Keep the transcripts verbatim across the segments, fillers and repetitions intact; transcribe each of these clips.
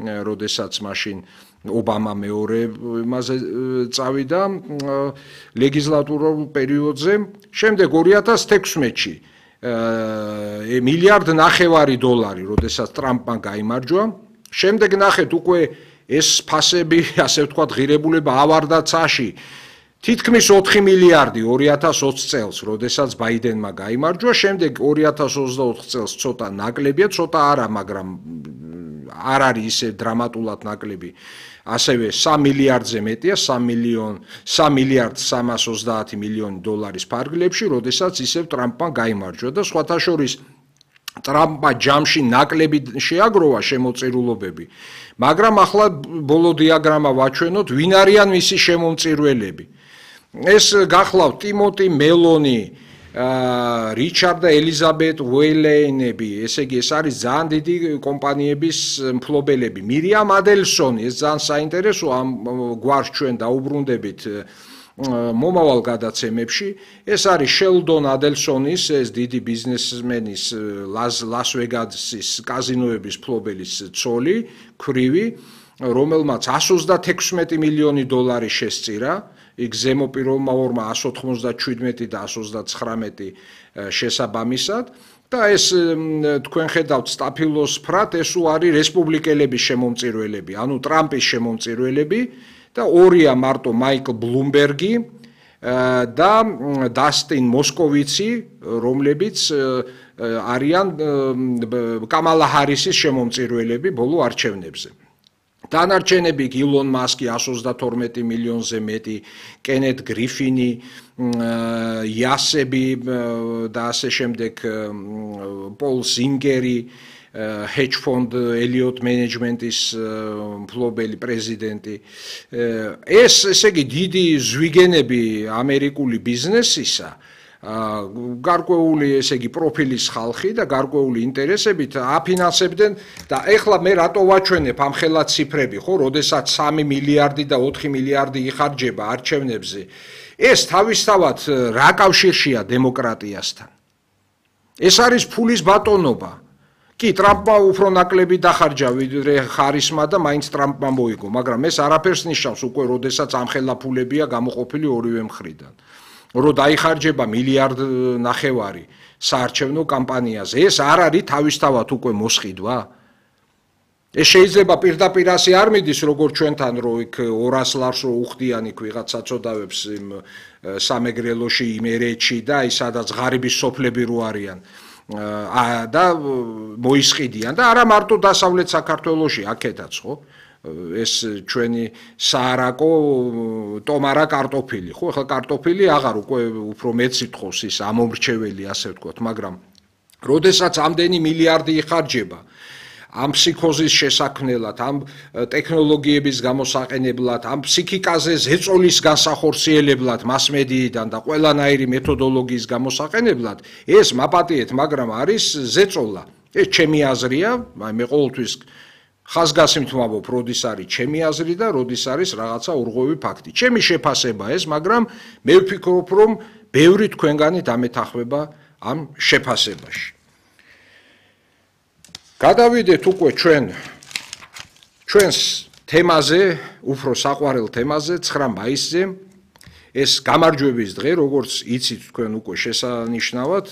როდესაც მაშინ ობამა მეორე იმაზე წავიდა ლეგისლატურულ პერიოდზე, შემდეგ ორი ათას თექვსმეტში მილიარდ ნახევარი დოლარი, როდესაც ტრამპმა გაიმარჯვა, შემდეგ ნახეთ უკვე ეს ფასები, ასე ვთქვათ, ღირებულება ავარდა ცაში. თითქმის ოთხი მილიარდი ორი ათას ოცი წელს, როდესაც ბაიდენმა გაიმარჯვა, შემდეგ ორი ათას ოცდაოთხ წელს ცოტა ნაკლებია, ცოტა არა, მაგრამ არ არის ისე დრამატულად ნაკლები. ასევე სამი მილიარდზე მეტია, სამი მილიარდ სამას ოცდაათი მილიონი დოლარის ფარგლებში, როდესაც ისევ ტრამპმა გაიმარჯვა და სხვათა შორის ტრამპმა ჯამში ნაკლები შეაგროვა შემოწირულობები, მაგრამ ახლა ბოლო დიაგრამა ვაჩვენოთ, ვინ არიან მისი შემომწირველები. ეს გახლავთ ტიმოტი მელონი, რიჩარდ და ელიზაბეთ უეილეინები, ესე იგი ეს არის ძალიან დიდი კომპანიების მფლობელები. მირიამ ადელსონი, ეს ძალიან საინტერესო, ამ გვარს ჩვენ დაუბრუნდებით მომავალ გადაცემებში, ეს არის შელდონ ადელსონის, ეს დიდი ბიზნესმენის, ლას ვეგასის კაზინოების მფლობელის ცოლი, ქვრივი, რომელმაც εκατს ოცდათექვსმეტი მილიონი დოლარი შესწირა, იქ ზემო პიროვმა ორმა εκατს ოთხმოცდაჩვიდმეტი და εκατს ოცდაცხრამეტი შესაბამისად და ეს თქვენ ხედავთ სტაფილოსფრად, ეს არის რესპუბლიკელების შემომწირველები, ანუ ტრამპის შემომწირველები და ორია მარტო მაიკლ ბლუმბერგი და დასტინ მოსკოვიცი, რომლებიც არიან კამალა ჰარისის შემომწირველები ბოლო არჩევნებზე. დანარჩენები ილონ მასკი εκατს ოცდათორმეტი მილიონზე მეტი, კენეთ გრიფინი, იასები და ასე შემდეგ, პოლ ზინგერი, hedge fund Elliott Management-ის მფლობელი პრეზიდენტი. ეს ესე იგი დიდი ზვიგენები ამერიკული ბიზნესისა, გარკვეული ესე იგი პროფილის ხალხი და გარკვეული ინტერესებით აფინანსებდნენ და ეხლა მე რატო ვაჩვენებ ამ ხელა ციფრები, ხო, როდესაც სამი მილიარდი და ოთხი მილიარდი იხარჯება არჩევნებზე. ეს თავისთავად რა კავშირშია დემოკრატიასთან? ეს არის ფულის ბატონობა. კი, ტრამპმა უფრო ნაკლები დახარჯა ვიდრე ხარისმა და მაინც ტრამპმა მოიგო, მაგრამ ეს არაფერს ნიშნავს უკვე, როდესაც ამ ხელა ფულებია გამოყოფილი ორივე მხრიდან. რომ დაიხარჯება მილიარდ ნახევარი საარჩევნო კამპანიაზე, ეს არ არის თავისთავად უკვე მოსყიდვა? ეს შეიძლება პირდაპირ ასე არ მიდის, როგორც ჩვენთან, რომ იქ ორას ლარს რო უხდიან იქ ვიღაც საწოდავებს იმ სამეგრელოში, იმ ერეთში და აი სადაც ღარიბის სოფლები რო არიან და მოისყიდიან და არა მარტო დასავლეთ საქართველოში, აქედაც, ხო? ეს ჩვენი საარაკო ტომარა კარტოფილი, ხო, ახლა კარტოფილი აღარ უკვე უფრო მეც ითხოვს ის ამომრჩეველი, ასე ვთქვათ, მაგრამ როდესაც ამდენი მილიარდი იხარჯება ამ ფსიქოზის შესაქმნელად, ამ ტექნოლოგიების გამოსაყენებლად, ამ ფსიქიკაზე ზეწოლის განსახორციელებლად, მასმედიიდან და ყველანაირი მეთოდოლოგიის გამოსაყენებლად, ეს მაპატიეთ, მაგრამ არის ზეწოლა. ეს ჩემი აზრია, აი მე ყოველთვის ხაზგასიმთ ვამბობ, როდის არის ჩემი აზრი და როდის არის რაღაცა ურღვევი ფაქტი. ჩემი შეფასება ეს, მაგრამ მე ვფიქრობ, რომ ბევრი თქვენგანი დამეთანხმება ამ შეფასებაში. გადავიდეთ უკვე ჩვენ ჩვენს თემაზე, უფრო საყვარელ თემაზე, ცხრა მაისზე. ეს გამარჯვების დღე, როგორც იცით თქვენ უკვე შესანიშნავად,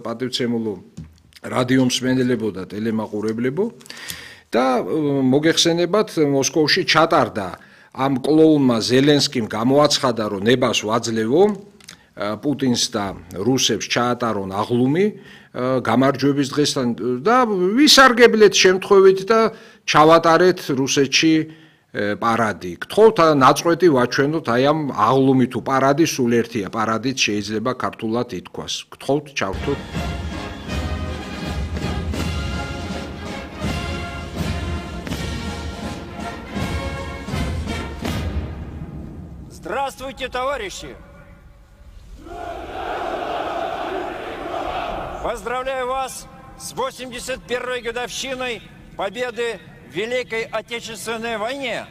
პატივცემულო რადიო მსმენელებო და ტელემაყურებლებო. და მოგეხსენებათ, მოსკოვში ჩატარდა ამ კლოუნმა ზელენსკიმ გამოაცხადა, რომ ნებას ვაძლევო პუტინს და რუსებს ჩაატარონ აღლუმი გამარჯვების დღესთან და ვისარგებლეთ შემთხვევით და ჩავატარეთ რუსეთში პარადი. გთხოვთ ნაწყვეტი ვაჩვენოთ აი ამ აღლუმი თუ პარადი, სულ ერთია, პარადით შეიძლება ქართულად ითქვას. გთხოვთ ჩავთოთ. Здравствуйте, товарищи! Поздравляю вас с восемьдесят первой годовщиной победы в Великой Отечественной войне.